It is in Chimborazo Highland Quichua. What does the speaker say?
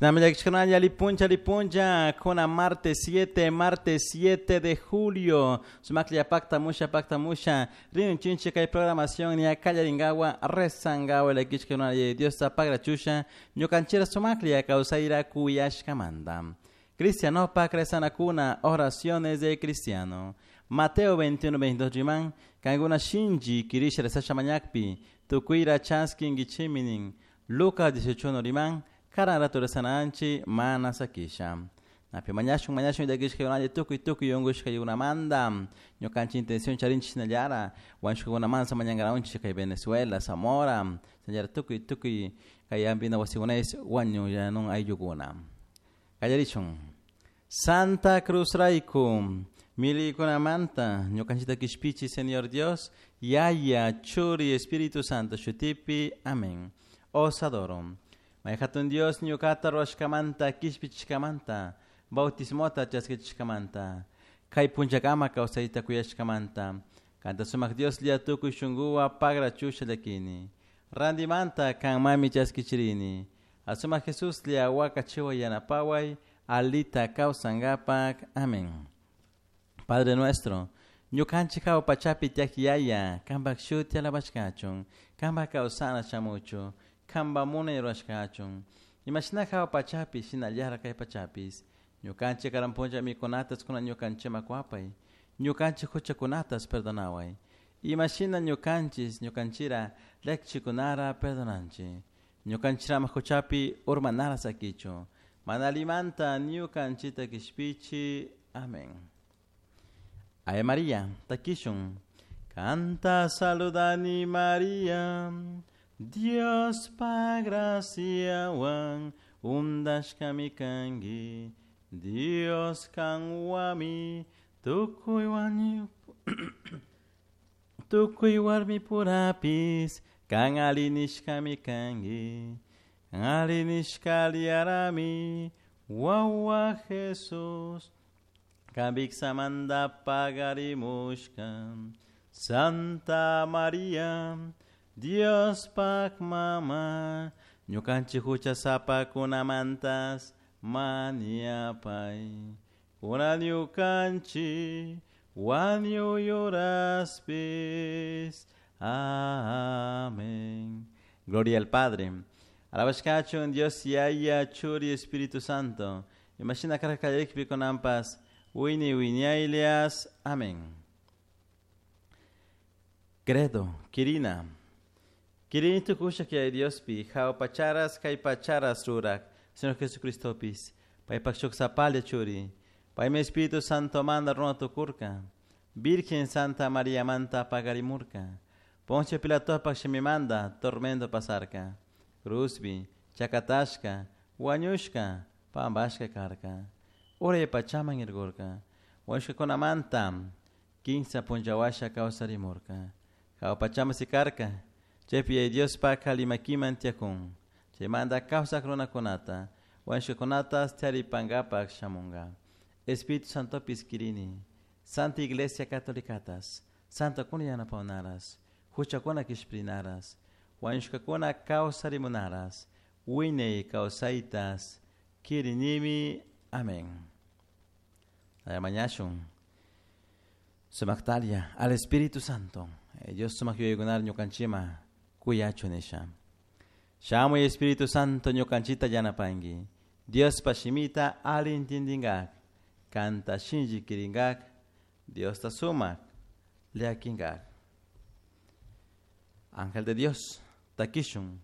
Lipuncha, lipuncha, kuna martes 7, martes 7 de julio. Sumaklia pacta musha, pacta musha. Rin chinche kay programación ni akallaringawa, rezangawa, la kichkuna Dios pagra chusha, ñukanchira sumaklia causaira kuyashkamanda. Cristiano pa kuna, oraciones de cristiano. Mateo 21, 22 riman, kanguna shinji, kirisha resasha mañakpi, tukuira chaskin gichiminin. Lucas 18 riman, karan rato rezananchi, mana sakisha. Napi mañashun mañashun llakishka yunalla tukuy tukuy unkushka yunamanta ñukanchik intención charinchik shinallara wañushkakunamanta mañankaraunchik kay Venezuela, Zamora, shinallara tukuy tukuy kay hampina wasikunaysh wañuyanun ayllukuna. Qallarishun. Santa Cruz rayku milikunamanta ñukanchikta kishpichi Señor Dios, Yaya, Churi, Espíritu Santo shutipi. Amén. Os adoro. May hatun Dios ñukata ruwashkamanta kishpichishkamanta bautismota chaskichishkamanta kay punchakama kawsayta kuyashkamanta kanta sumak Dios lia tukuy shunkuwa pagra chusha llakini randimanta kanmami chaskichirini asumak Jesus lia wakachiwa yanapaway alita kawsankapak. Amén. Padre nuestro, ñukanchik hawa pachapi tiyak yaya, kanpak shuti alabashkachun, kanpak kawsana shamuchu, kanpak munay rurashkachun. Imashina hawa pachapi, shinallara kay pachapis. Ñukanchik karan punlla mikunatas kuna ñukanchikman kuwapay, ñukanchik huchakunatas perdonaway. Imashina ñukanchis ñukanchira llakichikunara perdonanchik. Ñukanchirama huchapi urmanara sakichu. Mana allimanta ñukanchikta kishpichi. Amén. Ave María, takishun. Kanta saludani María, Dios pa graciawan undashkami kanki, Dios kanwami tukuy wañu tukuy warmi purapis kan alli nishkami kanki, kan alli nishka aliyarami wawa Jesus, kan viksamanta pagarimushka. Santa María, Dios pak mama, ñukanchik huchasapakunamantas mañapay. Kunan ñukanchik wañuy horaspis. Amén. Gloria al Padre. Alabashkachun Dios Yaya, Churi, Espíritu Santo. Imashina karka kunanpas, wini wiñaylias. Amén. Credo, Kirina. Kirini tukusha que hay Diospi, hawa pacharas kay pacharas rurak, Señor Jesucristopis, paypak shuk sapalla churi, paymi Espíritu Santo manda runa tukurka, Virgen Santa María manta pagarimurka, Poncio Pilatopak shimimanda tormento pasarka, Cruzbi, chakatashka, wañushka, pambashka karka, uray pachaman irgurka, wañushkakunamanta, kinsa punllawasha kawsarimurka, hawa pachaman sikarka, chaypi Yaya Diospak limakiman tiyakun, chaymanta kawsak runakunata, wañushkakunata taripankapak shamunka. Espíritu Santopis kirini, Santa Iglesia Catolicatas, Santokuna yanapawnaras, huchakuna kishpirinaras, wañushkakuna kawsarimunaras, wiñay kawsaytas kirinimi. Amén. Mañashun. Sumaktalia al Espíritu Santo. Dios sumak yuyaykunar ñukanchikma kuyachu nisha. Shamuy Espíritu Santo ñukanchikta yanapanki. Diospa shimita alli intindinkak, kanta shinlli kirinkak, Diosta sumak llakinkak. Ángel de Dios, takishun.